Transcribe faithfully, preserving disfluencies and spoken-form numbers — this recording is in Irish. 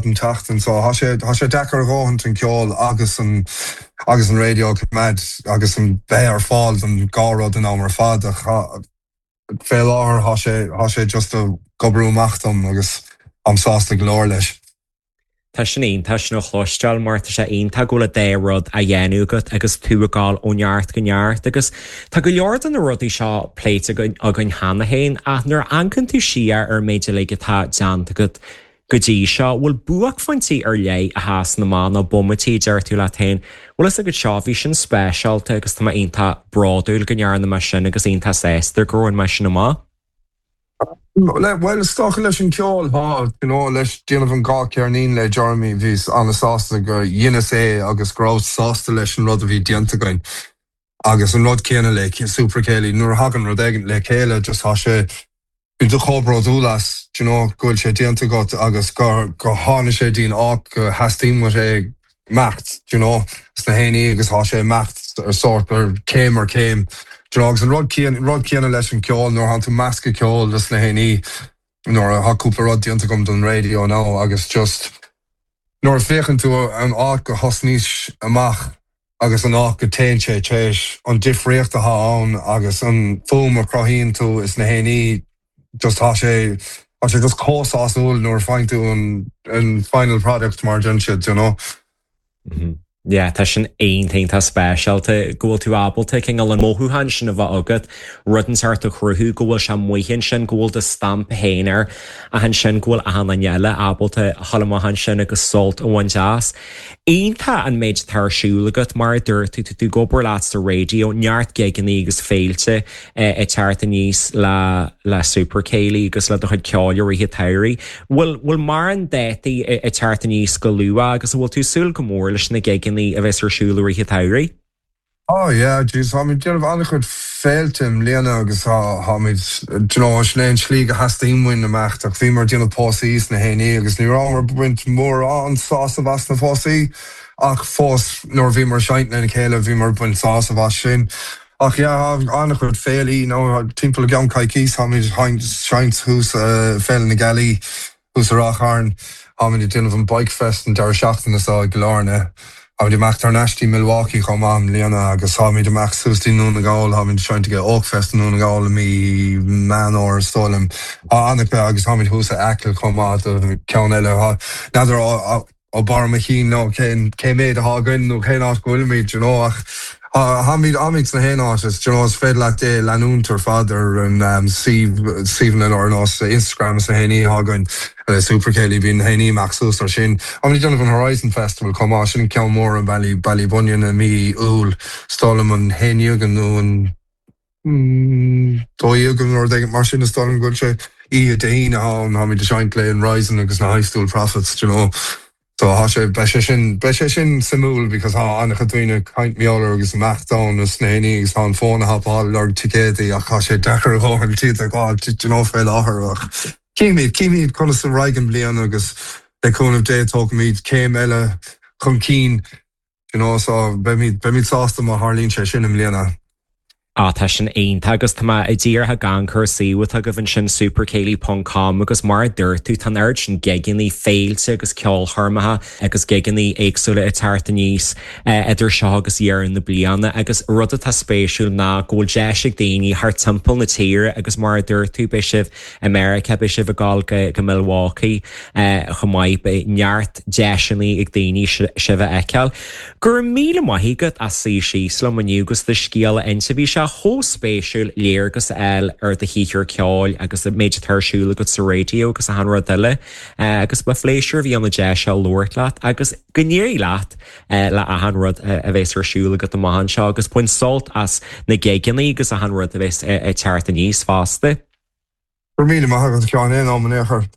an tseachtain so tá sé tá sé deacair a dhóthain an ceol agus an agus an radio mad agus an bheith ar fáil an dhá rud an am ar fad ach fé láthair tá sé tá sé just ag oibriú amach dom agus I'm sásta go leor leis. Tá sin iontach sin a chloisteáil mar tá sé iontach go bhfuil an dá rud á dhéanamh agat agus tú ag gabháil ó neart go neart agus tá go leor de na rudaí seo pléite againn cheana féin ach nuair a amharcann tú siar ar an méid uilig atá déanta agat go dtí seo bhfuil buaicphointí ar leith a sheasann amach nó bomaití deir tú leat féin, Bhfuil fhios agat seo bhí sin speisialta agus tá mé iontach bródúil go ndearna mé sin agus iontach sásta gur bhain mé sin amach. Well is dócha leis an ceol tá you know, leis déanamh an dhá cheirnín le Jeremy bhí an-sásta go dheineas é agus go raibh sásta leis an rud a bhí déanta againn. Agus an rud céanna le Super Céilí nuair a thagann rud éigin le chéile just tá sé bíonn tú chomh bródúil as you know, go bhfuil sé déanta agat agus go go tháinig sé dtí'n áit go theastaíonn sé imeacht you know, sna héanaí agus tá sé imeacht ar sort ar céim ar céim. You know, agus an rud rud céanna leis an ceol nuair atá tú meascadh ceol leis na héanaí nuair atá cúpla rud déanta agam don radio nó agus just nuair a féachann tú an áit go thosnaís amach agus an áit go dtéann sé téis an difríocht atá ann agus an fuaim a chruthaíonn tú is na héanaí just tá sé tá sé just chomh sásúil nuair a fhaigheann tú an an final product mar den siad you know. Mm -hmm. Yeah, tá sin iontach speisialta go bhfuil tú ábalta cineál an mothúchán sin a bheith agat rud inteacht a chruthú go bhfuil sé amuigh sin go bhfuil do stampa féin air ach ansin go bhfuil achan duine eile ábalta dul amach ansin agus sult a bhaint as. Iontach an méid atá ar siúl agat mar a dúirt tú tú ag obair leat sa radio neart gigeanna agus féilte ag teacht aníos le le Super Céilí agus le do chuid ceoil i rith an tsamhraidh. Bhfuil bhfuil mórán dátaí ag teacht aníos go luath agus bhfuil tú súil go mór leis na gigeanna a bheas ar siúl i rith an tsamhraidh? Oh yeah, geez, táimid déanamh an-chuid féilte i mbliana agus táimid sin é an slí go theastaíonn uainn imeacht ach bhíomar déanamh pósaí sna héanaí agus ní rabhamar ag baint mórán sásamh as na pósaí ach fós nuair bhíomar ag seinnt lena chéile bhíomar ag baint sásamh as sin. Ach yeah, an-chuid féilí nó timpeall i gceann coicís táimid seinnt thuas Féile na Gealaí thuas i Ráth Chairn táimid ag déanamh an Bike Fest an deireadh seachtaine seo i gCill Airne. Táimid amach thar n-ais dtí Milwaukee chomh maith i mbliana agus táimid amach suas dtí Dún na nGall táimid seinnt ag Oakfest i Dún na nGall i mí Meán Fómhair is dóigh liom. Tá an-chuid agus táimid thuas i Acaill chomh maith do ceann eile N'fheadar ó barr mo chinn nó cén cé méid atá againn nó cén áit go bhfuilimid you know, ach táimid táimid sna haon áit is you know, is féidir leat é leanúint ar fad ar an um, suíomh ar nós Instagram is na héanaí atá againn le Super Céilí bíonn héanaí amach suas ar sin. Táimid déanamh an Horizon Festival chomh maith sin ceann mór an Baile Ballybunion i mí Iúil is dóigh liom an haon déag nó an dó dhéag nó rud mar sin is dóigh liom go bhfuil sé oíche Dé hAoine ann táimid ag seinnt le an Horizon agus na High School Prophets you know. So tá sé beidh sé sin beidh sé sin suimiúil because tá an-chuid daoine caint meolar agus amach is na héanaí agus tá an fón a thapáil lorg ticéadaí ach tá sé deacair a dhóthain iad a fháil you know, fé láthair ach címid címid conas a raghaidh an bhliain agus le cúnamh Dé tógfaimid céim eile chun cinn you know, so beimid beimid sásta má tharlaíonn sé sin i mbliana. Á tá sin iontach agus tá mé díreach ag amharc ar an suíomh atá agaibh ansin supercéilí.com agus mar a dúirt tú tá oiread sin gigeanna féilte agus ceolchoirmeacha agus gigeanna éagsúla ag teacht aníos idir seo agus deireadh na bliana agus rud atá spéisiúil ná go bhfuil deis ag daoine thar timpeall na tíre agus mar a dúirt tú beidh sibh America beidh sibh ag gabháil go go Milwaukee chomh maith beidh neart deiseanna ag daoine sibh a fheiceáil. Gur míle maith agat as suí síos liom inniu agus do scéal a inse bhí sé chomh spéisiúil léargas a fháil ar do shaothar ceoil agus an méid atá ar siúl agat sa raidió agus achan rud eile agus ba phléisiúr a bhí ann an deis seo labhairt leat agus go n-éirí leat le achan rud a bheas ar siúl agat amach anseo agus bain sult as na gigeanna agus achan rud a bheas ag teacht aníos fosta. Gur míle maith agat cean é am an échar.